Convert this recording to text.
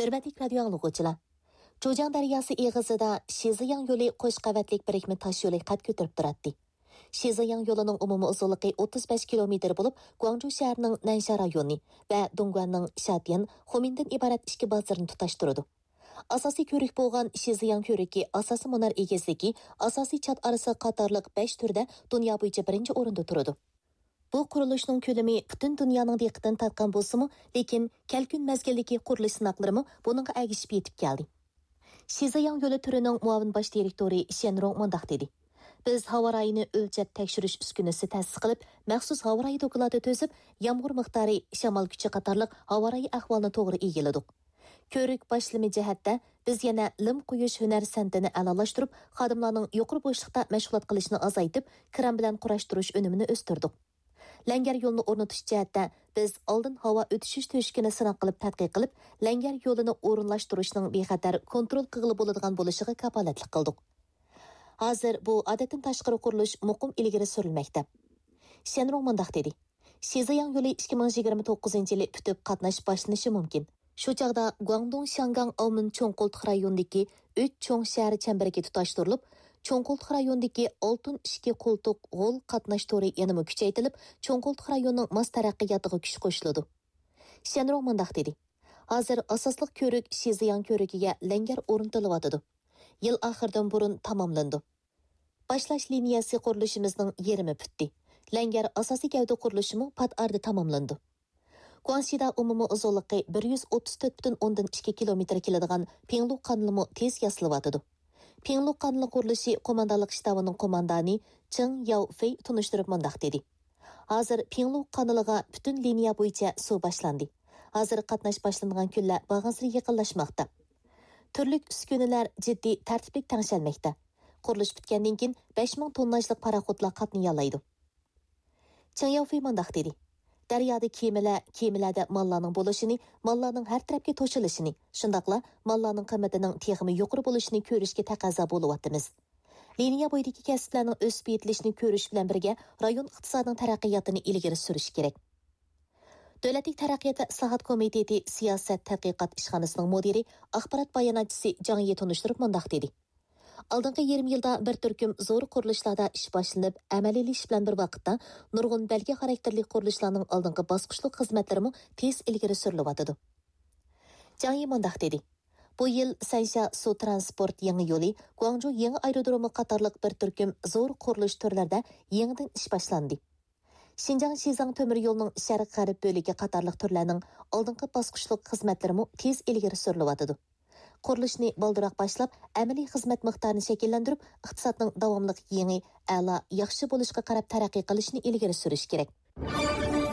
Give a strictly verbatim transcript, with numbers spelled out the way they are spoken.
ھۆرمەتلىك رادىيو ئاڭلىغۇچىلار! جۇجياڭ دەرياسى ئېغىزىدا شىزىياڭ يولى قوش قەۋەتلىك بىرىكمە تاش يولى قەد كۆتۈرۈپ تۇراتتى. شىزىياڭ يولىنىڭ ئومۇمىي ئۇزۇنلۇقى ئوتتۇز بەش كىلومېتىر بولۇپ، گۇاڭجۇ شەھىرىنىڭ نەنشيا رايونى ۋە دۇڭگۇەننىڭ شاتيەن، خۇمىندىن ئىبارەت ئىككى بازىرىنى تۇتاشتۇرىدۇ. ئاساسىي كۆۋرۈك بولغان شىزىياڭ كۆۋرۈكى ئاساسىي مۇنار ئېگىزلىكى، ئاساسىي چات ئارىسى قاتارلىق بەش تۈردە دۇنيا بويىچە بىرىنچى ئورۇندا تۇرىدۇ. بۇ قۇرۇلۇشنىڭ كۆلىمى پۈتۈن دۇنيانىڭ دىققىتىنى تارتقان بولسىمۇ، لېكىن كەلكۈن مەزگىلدىكى قۇرۇلۇش سىناقلىرىمۇ بۇنىڭغا ئەگىشىپ يېتىپ كەلدى. شىزياڭ يولى تۈرىنىڭ مۇئاۋىن باش دىرېكتورى شيەن رۇڭ مۇنداق دېدى: بىز ھاۋا رايىنى ئۆلچەپ تەكشۈرۈش ئۈسكۈنىسى تەسىس قىلىپ، مەخسۇس ھاۋا رايى دوكلاتى تۈزۈپ، يامغۇر مىقدارى، شامال كۈچى قاتارلىق ھاۋا رايى ئەھۋالىنى توغرا ئىگىلىدۇق. كۆۋرۈك باشلىمى جەھەتتە، بىز يەنە لىم قۇيۇش ھۈنەر سەنئىتىنى ئەلالاشتۇرۇپ، خادىملارنىڭ يۇقىرى بوشلۇقتا مەشغۇلات قىلىشىنى ئازايتىپ، كىرام بىلەن قۇراشتۇرۇش ئۈنۈمىنى ئۆستۈردۇق. لەڭگەر يولىنى ئورنىتىش جەھەتتە، بىز ئالدىن ھاۋا ئۆتۈشۈش تۆشۈكىنى سىناق قىلىپ تەتقىق قىلىپ، لەڭگەر يولىنى ئورۇنلاشتۇرۇشنىڭ بىخەتەر كونترول قىلغىلى بولىدىغان بولۇشىغا كاپالەتلىك قىلدۇق. ھازىر بۇ ئادەتتىن تاشقىرى قۇرۇلۇش مۇقىم ئىلگىرى سۈرۈلمەكتە. شيەن رۇڭ مۇنداق دېدى: شىزياڭ يولى ئىككى مىڭ يىگىرمە توققۇزىنچى يىلى پۈتۈپ، قاتناش باشلىنىشى مۇمكىن. شۇ چاغدا گۇاڭدۇڭ شياڭگاڭ ئاۋمېن چوڭ قولتۇق رايونىدىكى ئۈچ چوڭ شەھەر چەمبىرىكى تۇتاشتۇرۇلۇپ، چوڭ قولتۇق رايونىدىكى ئالتۇن ئىككى قولتۇق غول قاتناش تورى يەنىمۇ كۈچەيتىلىپ، چوڭ قولتۇق رايونىنىڭ ماس تەرەققىياتىغا كۈچ قوشۇلىدۇ. شيەن رۇڭ مۇنداق دېدى: ھازىر ئاساسلىق كۆۋرۈك شىزياڭ كۆۋرۈكىگە لەڭگەر ئورنىتىلىۋاتىدۇ. يىل ئاخىرىدىن بۇرۇن تاماملىنىدۇ. باشلاش لىنىيەسى قۇرۇلۇشىمىزنىڭ يېرىمى پۈتتى. لەڭگەر ئاساسىي گەۋدە قۇرۇلۇشىمۇ پات ئارىدا تاماملىنىدۇ. گۇاڭشىدا ئومۇمىي ئۇزۇنلۇقى بىر يۈز ئوتتۇز تۆت پۈتۈن ئوندىن ئىككى كىلومېتىر كېلىدىغان پىڭلۇ قانىلىمۇ تېز ياسىلىۋاتىدۇ. پىڭلۇ قانىلى قۇرۇلۇشى قوماندانلىق شتابىنىڭ قوماندانى چېڭ ياۋفېي تونۇشتۇرۇپ مۇنداق دېدى: ھازىر پىڭلۇ قانىلىغا پۈتۈن لىنىيە بويىچە سۇ باشلاندى. ھازىر قاتناش باشلىنىدىغان كۈنلەر بارغانسېرى يېقىنلاشماقتا. تۈرلۈك ئۈسكۈنىلەر جىددىي تەرتىپلىك تەڭشەلمەكتە. قۇرۇلۇش پۈتكەندىن كېيىن بەش مىڭ تونناژلىق پاراخوتلار قاتنىيالايدۇ. چېڭ ياۋفېي مۇنداق دېدى: دەريادا كېمىلەر، كېمىلەردە ماللارنىڭ بولۇشىنى، ماللارنىڭ ھەر تەرەپكە توشۇلۇشىنى، شۇنداقلا ماللارنىڭ قىممىتىنىڭ تېخىمۇ يۇقىرى بولۇشىنى كۆرۈشكە تەقەززا بولۇۋاتىمىز. لىنىيە بويىدىكى كەسىپلەرنىڭ ئۆسۈپ يېتىلىشىنى كۆرۈش بىلەن بىرگە، رايون ئىقتىسادىنىڭ تەرەققىياتىنى ئىلگىرى سۈرۈش كېرەك. دۆلەتلىك تەرەققىيات ۋە ئىسلاھات كومىتېتى سىياسەت تەتقىقات ئىشخانىسىنىڭ مۇدىرى، ئاخبارات باياناتچىسى جاڭ يى تونۇشتۇرۇپ مۇنداق دېدى: ئالدىنقى يېرىم يىلدا بىر تۈركۈم زور قۇرۇلۇشلاردا ئىش باشلىنىپ، ئەمەلىيلىشىش بىلەن بىر ۋاقىتتا، نۇرغۇن بەلگە خاراكتېرلىك قۇرۇلۇشلارنىڭ ئالدىنقى باسقۇچلۇق خىزمەتلىرىمۇ تېز ئىلگىرى سۈرۈلۈۋاتىدۇ. جاڭ يى مۇنداق دېدى: بۇ يىل سەنشيا سۇ ترانسپورت يېڭى يولى، گۇاڭجۇ يېڭى ئايرودرومى قاتارلىق بىر تۈركۈم زور قۇرۇلۇش تۈرلىرىدە يېڭىدىن ئىش باشلاندى. شىنجاڭ شىزاڭ تۆمۈر يولىنىڭ شەرق غەرب بۆلىكى قاتارلىق تۈرلەرنىڭ ئالدىنقى باسقۇچلۇق خىزمەتلىرىمۇ تېز ئىلگىرى سۈرۈلۈۋاتىدۇ. قۇرۇلۇشنى بالدۇرراق باشلاپ، ئەمەلىي خىزمەت مىقدارىنى شەكىللەندۈرۈپ، ئىقتىسادنىڭ داۋاملىق يېڭى، ئەلا، ياخشى بولۇشقا قاراپ تەرەققىي قىلىشىنى ئىلگىرى سۈرۈش كېرەك.